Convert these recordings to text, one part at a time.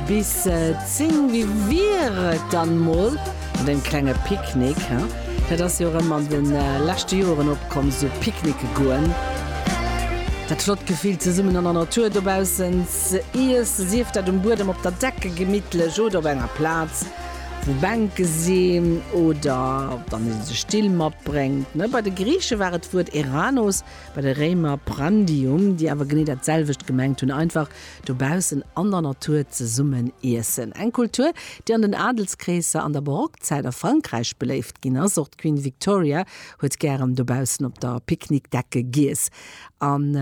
bis 10. Wéi wier et dann mol mat engem klenge Picknick, he? Dat ass jo erëm an de leschte Joeren opkomm, sou Picknicke goen. Dat flott Gefill zesummen an der Natur dobaussen ze iessen, sief dat um Buedem, op der Decke gemittlech oder op enger Plaz wou Bänke sinn oder wann ee sech Still matbréngt. Bei de Griiche war et d'Wuert Eranos, bei de Réimer Prandium, déi awer genee dat selwecht gemengt hunn, einfach dobaussen an der Natur zesummen iessen. Eng Kultur, déi an den Adelskreesser an der Barockzäit a Frankräich beléift ginn ass. Och d'Queen Victoria huet gären dobaussen op der Picknickdecke giess. An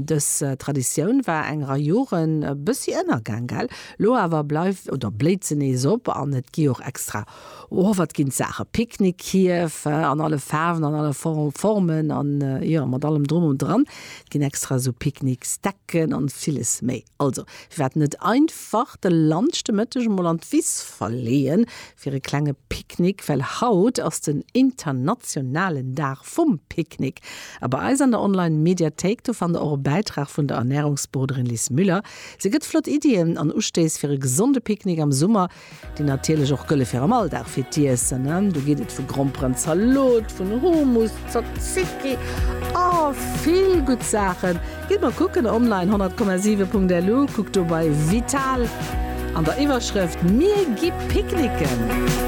dës Traditioun war eng Rei Joren e bëssi ënnergaang, gell? Lo awer bleift oder bléit se nees op an et gi och extra, oh wat ginn d'Saache, Picknickkierf an alle Faarwen, an alle Formen an jo mat allem drum und dran. Et ginn extra esou Picknicksdecken an villes méi. Also firwat net einfach de Lunch de Mëtteg emol an d'Wiss verleeën fir e klenge Picknick, well haut ass den internationalen Dag vum Picknick. A bei eis an der Online Mediathéik, do fannt der och e Bäitrag vun der Ernärungsberoderin Lis Müller. Si gëtt flott Iddien an Ustéiss fir e gesonde Picknick am Summer, déi natierlech och gëlle fir am Alldag fir d'Iessen. Do geet et vu Gromperenzalot, vun Hummus, Tzatziki, oh vill gutt Saachen. Gitt mol kucken online 100,7.lu, kuckt do bei Vital an der Iwwerschrëft Mir gi picknicken.